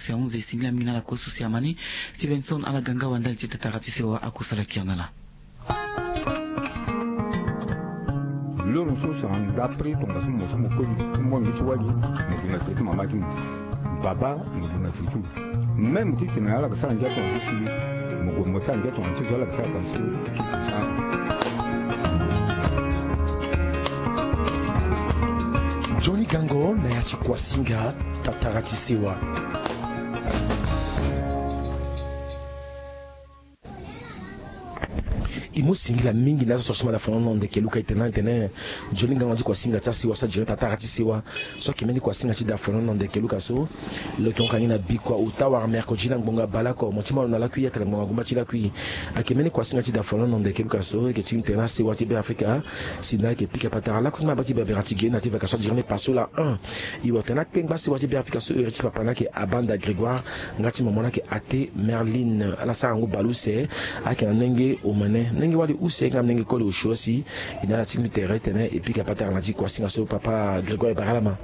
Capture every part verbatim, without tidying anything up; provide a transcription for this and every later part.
Seanze esengeli mingi na ala kue so si amani. Stevenson ala ga nga wa ndali ti tatara ti sewa akosala kiri na ala. Loro so sara ndapre tongaso mo so mo koli ti mbongo ti wali, mo gue na tere ti mama ti mo. Baba mo gue na tere ti mo. Même ti tene ala ga sara ndia tonga ti si, mo gue mo sara ndia tonga ti zo ala ga sara tonga ti so. Johnny Gango na ya ti Kuasinga, tatara ti sewa. E mu singila mingi na azo so asuma da fono na ndeke luka e tene na tene. Johnny Gango na ti Kuasinga ti asewa so ajere tatara ti sewa. So ayeke mbeni Kuasinga ti da fono na ndeke luka so. Lo yeke hon ka ni na bikua ota wala mercredi na ngbonga baleoko mo ti ma lo na lakui atene ngbonga gumba ti lakui. Ayeke mbeni Kuasinga ti da fono na ndeke luka so e yeke ti tene na sewa ti Beafrika. Si na ayeke pika patara lakui ti mababa ti Berbera ti ge na ti vacation ti jere ni pasola un. E wara tene akpengba sewa ti Beafrika so iri ti papa na ayeke Abanda Grégoire. Nga ti mama na ayeke Ate Merline. Ala sara ngu baleuse. Ayeke na nenge omene nenge wali use nga na nenge koli osio si. E na ala ti mbi tere titene e pika patara na ti Kuasinga so papa Grégoire e bara ala ma.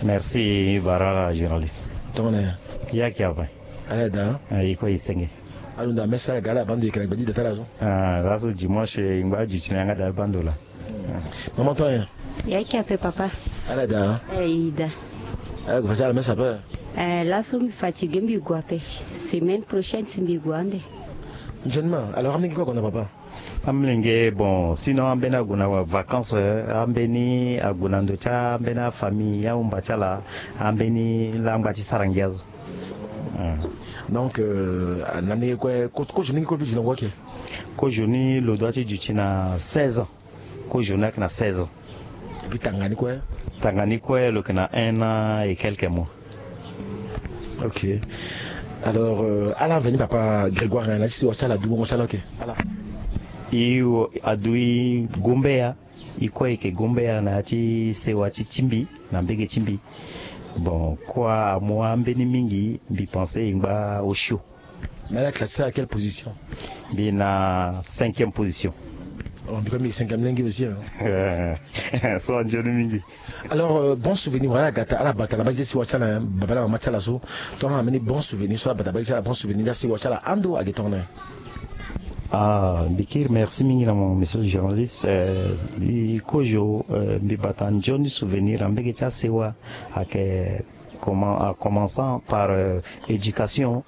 Merci, bara ala journaliste. Tongana ya? Ya ki ape. Ala daa. E kue e senge. Alunda mesa ala ga ala baa ndo e yeke na gbe ti da ti ala so. Ah, laso dimanche e ngba aduti na yanga daa baa ndo laa. Mama tongana ya? Ya ki ape papa. Ala daa. E daa. Ala gue fa ti ala mesa ape. Eh, laso mbi fatigue mbi gue ape. Semaine prochaine si mbi gue ande. Nzoni ma alors amolenge kue ague na papa? Amolenge bon sinon ambeni ague na vacances, ambeni ague na ndo ti ambeni afamille ahumba ti ala. Ambeni laa angba ti sara ngia so. Donc na ndenge kue kozo ni nge kue mbi di na ngu ake? Kozo ni lo dua ti duti na seize ans. Kozo ni ayeke na seize ans. Et puis tanga ni kue? Tanga ni kue lo yeke na un an et quelques mois. Ok. Alors ala aveni papa Grégoire na ya ti sewa ti ala adu bongo ti ala oke? Ala. E adu e gombeya. E kue e yeke gombeya na ya ti sewa ti ti mbi na mbege ti mbi. Bon kua amu ambeni mingi mbi pense e ngba osio. Mais ala classé à quelle position? Mbi na cinquième position. Oh, mbi kue mbi cinquième lenge aussi hein. So anzoni mingi. Alors euh, bon souvenir wala gata ala bata na bagi ti sewa ti ala baba na mama ti ala so. Tongana ameni bon souvenir so ala bata na bagi ti ala bon souvenir ti asewa ti ala ando age tongana? Ah, mbi kiri merci mingi na mo monsieur le journaliste. Euh, mbi kozo euh, mbi bata nzoni souvenir na mbege ti asewa ake. Comment, en commençant par euh, éducation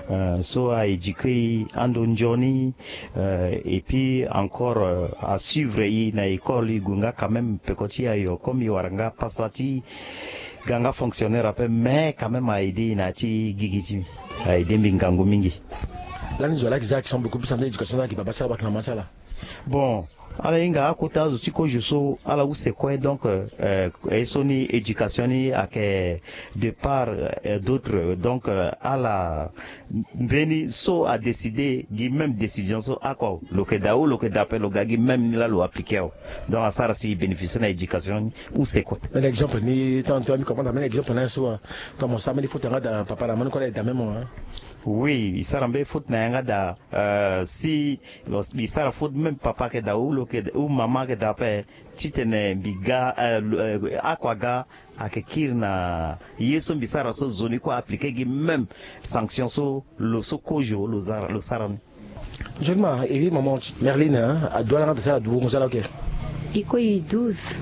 euh, so a éduquer ando nzoni euh, et puis encore euh, a suivre i na école i gue nga quand même peko ti ayo comme i wara nga pasa ti ga nga fonctionnaire ape mais quand même a aidé i na ya ti gigi ti mbi a aidé mbi ngangu mingi. Lani zo ala yeke za action beaucoup plus ande éducation ala yeke baba ti ala wala yeke mama ti ala? Bon. Ala hinga akota azo ti kozo so ala use kue donc euh, ye so ni éducation ni ayeke de part euh, d'autre donc euh, ala mbeni so adécide gi même décision so ako lo yeke daa ou lo yeke daa ape lo ga gi même ni laa lo appliqué awe. Donc asara si e bénéficier na éducation ni use kue. Mbeni exemple ni tant toi mi comprendre mbeni exemple na ye so. Ton mo sara mbeni faute yanga daa papa na mani kue ala e daa même mo. Oui, e sara mbeni faute na yanga daa. Euh, si mbi sara faute même papa ayeke daa ou lo yeke ou mama ayeke daa ape titene mbi ga euh, euh, akua ga ayeke kiri na ye so mbi sara so zo ni kue aappliqué gi même sanction so lo so kozo lo sara lo sara ni. Nzoni ma e wi maman ti Merline hein, adu ala nga daa si ala du wongo si ala oke? E kue e douze.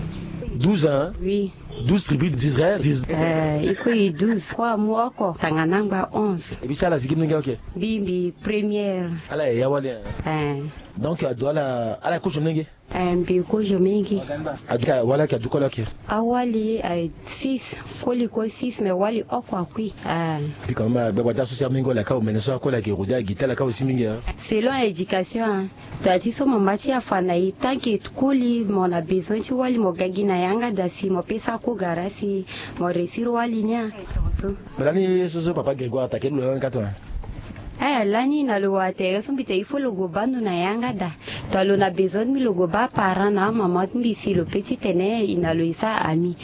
Douze hein? Oui. Douze tribus d'Israël. Eh, e kue e douze. Kue amu oko tangana angba onze. E bi si ala zi gi mlenge oke? Mbi mbi première. Ala yaya wali hein? Eh. Donc adu ala ala kozo mlenge? Eh, mbi kozo mlenge. Adu ka wala ke adu kole oke? Awali eh, six. Koli kue six mais wali oko akui. Eh. Mbi ka mama gbagba ti aso si amenge wala ka omene so akole ake rodi agi ti ala ka aussi mingi hein? Selon éducation hein. Daa ti so mama ti afa na e tant que koli mo na besoin ti wali mo ga gi na yanga daa si mo pesa kogara si mo réussir wali ni a. Tongaso. Mais lani ye so so papa Grégoire atake lo lani ka tongana? Eh lani na lo wara tere so mbi tene il faut lo gue baa ndo na yanga daa. Tongana lo na besoin ti mbi lo gue baa aparent na amama ti mbi si lo pe titene e na lo e sara ami.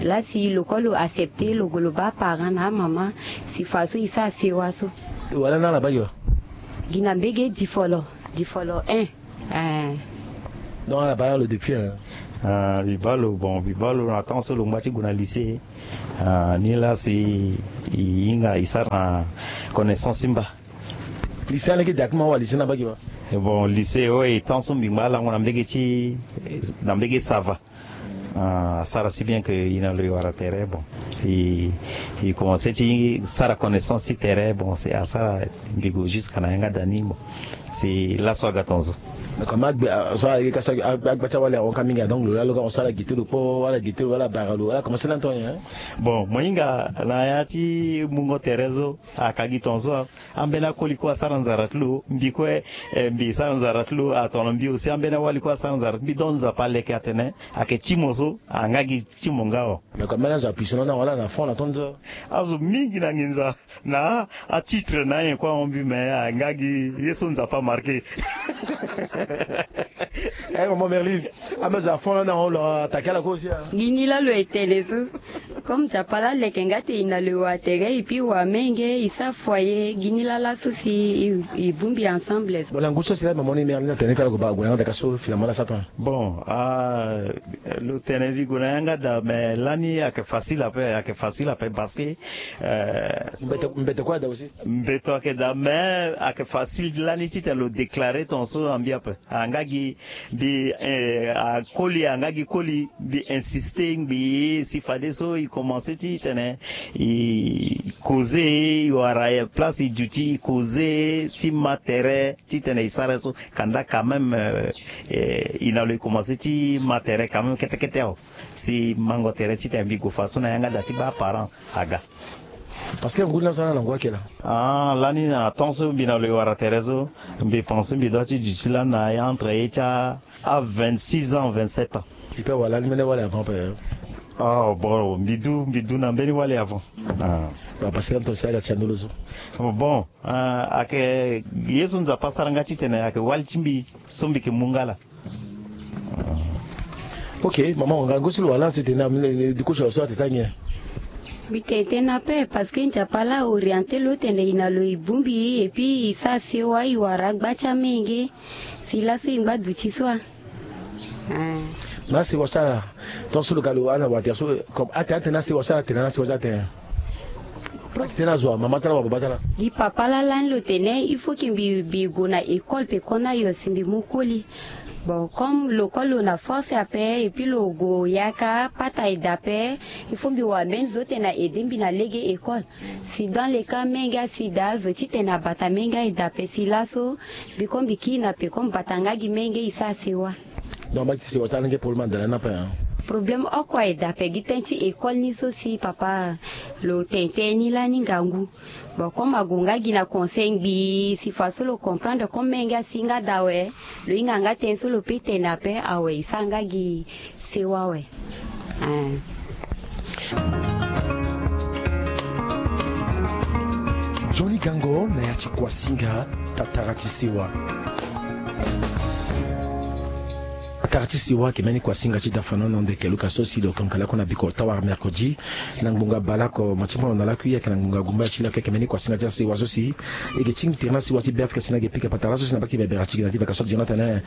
Laa si lo kue lo accepter lo gue lo baa aparent na amama si fa so e sara sewa so. Lo wara lani ala baa gi wa? Gi na mbege difolo. Difolo un. Eh. Donc ala baa lo depuis hein? Ah, mbi baa lo, bon, mbi baa lo na temps so lo ngba ti gue na lycée. Ah, ni laa si e hinga e sara na connaissance ti mba. Lycée aleke daa ti ma wa lycée na mbage wa? Bon, lycée, oui, temps so mbi ngba alango na mbage ti, na mbage Sava. Ah, asara si bien que e na lo e wara tere, bon, e, e commencé ti sara connaissance ti tere, bon, c'est asara mbi gue jusqu'à na yanga da ni, bon, c'est laso aga tonzo. Mais comme agbe, ah, so aleke ka so agba ti awali ahon ka mingi, donc lo laa lo ka hon so ala gete lo kpo, ala gete lo, ala bara lo, ala commencé lani ton nyen? Bon, mo hinga na ya ti mungo tere so, aka gi tonzo. Ambeni akoli kue asara nzara ti lo, mbi kue, eh, mbi sara nzara ti lo, atongana mbi aussi ambeni awali kue asara nzara ti mbi. Donc Nzapa aleke atene ayeke ti mo so, anga gi ti mo nga o. Mais comme ambeni azo apuissant na wala na fond na ton so. Azo mingi na nginza na atitre na anyen kue ahon mbi, mais anga gi ye so Nzapa amarqué. Eh, maman Merline, ambeni azo afond lani ahon lo atake ala kue aussi, hein? Gi ni laa lo etene so. Comme Nzapa laa aleke nga ti e na lo e wa tere, et puis e wa menge, e sara foyer, gi ni laa laso si e, e bungbi ensemble. Bon, na ngu so si laa maman ni Merline atene ti ala gue baa gue na yanga da ka so finalement laa sa ton. Bon, ah, lo tene mbi gue na yanga da, mais lani ayeke facile ape, ayeke facile ape parce que, euh, mbeto, mbeto kue ada aussi. Mbeto ayeke daa, mais ayeke facile lani titene lo déclarer ton so na mbi ape. Anga gi mbi, eh, akoli, anga gi koli, mbi insister ngbii si fadeso e commencer titene e causer, e wara place e duti, e causer ti ma tere titene e sara ye so. Kanda quand même, eh, eh, e na lo e commencer ti ma tere quand même kete kete awe. Si mango tere titene mbi gue fadeso na yanga da ti baa parent aga. Parce que ngu ni laso ala na ngu ayeke laa. Ah, lani na temps so mbi na lo e wara tere so, mbi pense mbi doit ti duti lani na entre ye ti a vingt-six ans, vingt-sept ans. E peut wala ni mbeni wali avant pe? Ah, bon, mbi du, mbi du na mbeni wali avant. Ah. Bah, parce que lani ton si aga ti andolo so. Bon, ah, ayeke ye so Nzapa asara nga titene ayeke wali ti mbi so mbi yeke mu nga laa. Ok, maman, ngangu so lo wara lani so e tene na, eh, du coup, so atene ti anyen? Mbi tene tënë ape parce que Nzapa laa a orienté lo tene e na lo e bungbi, et puis e sara sewa, e wara gba ti amenge. Si laso e ngba duti so a. Ah. Na sewa so ala, tant so lo ga lo ala wara tere so, comme atene, atene na sewa so ala tene, na sewa so atene. Atene na zo wa mama ti ala wa baba ti ala. Gi papa laa lani lo tene il faut que mbi, mbi gue na école pe kona yo si mbi mu koli. Bon, comme lo koli lo na force ape, et puis lo gue yaka pata e daa ape, il faut mbi wara mbeni zo ti tene a aider mbi na lege école. Si dans le cas menge asi daa, zo ti tene abata menge aye daa ape, si laso mbi, comme mbi kiri na pe, comme bata nga gi menge, e sara sewa. Donc, mba ti sewa so alenge problème adala ni ape, hein? Problème oko aye daa ape gi tënë ti école ni so si papa lo tene tënë ni lani ngangu. Bon, comme ague nga gi na conseil ngbii, si fadeso lo comprendre comme menge asi nga daa awe, lo hinga nga tënë so lo peut tene ape awe, e sara nga gi sewa awe. Ah. Johnny Gango na ya ti kuasinga, tatara ti sewa. Tatara ti sewa ayeke mbeni kuasinga ti dafanono ndeke luka so si lo konka lakue na biko tawara mercredi. Na ngbonga baleoko mo ti mbono na lakui, ayeke na ngbonga gumba ti lakui, ayeke mbeni kuasinga ti asewa so si e yeke tingbi tere na sewa ti Beafrika si na e yeke pika patara so si na mbage ti Berbera ti gi na ti baka so ti gi na tene,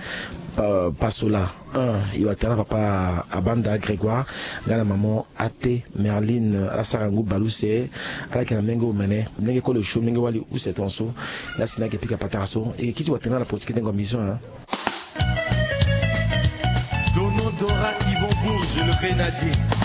pa, Pasola. Un, e wa tere na papa Abanda Grégoire nga na maman Ate Merline, ala sara ngu bale use, ala yeke na menge omene, menge kolo sio, menge wali use tongaso. Laa si na e yeke pika patara so, e yeke kiri ti wa tere na ala politique ti dengo mission, hein. Dono Dora Yvon Bourges, le grenadier.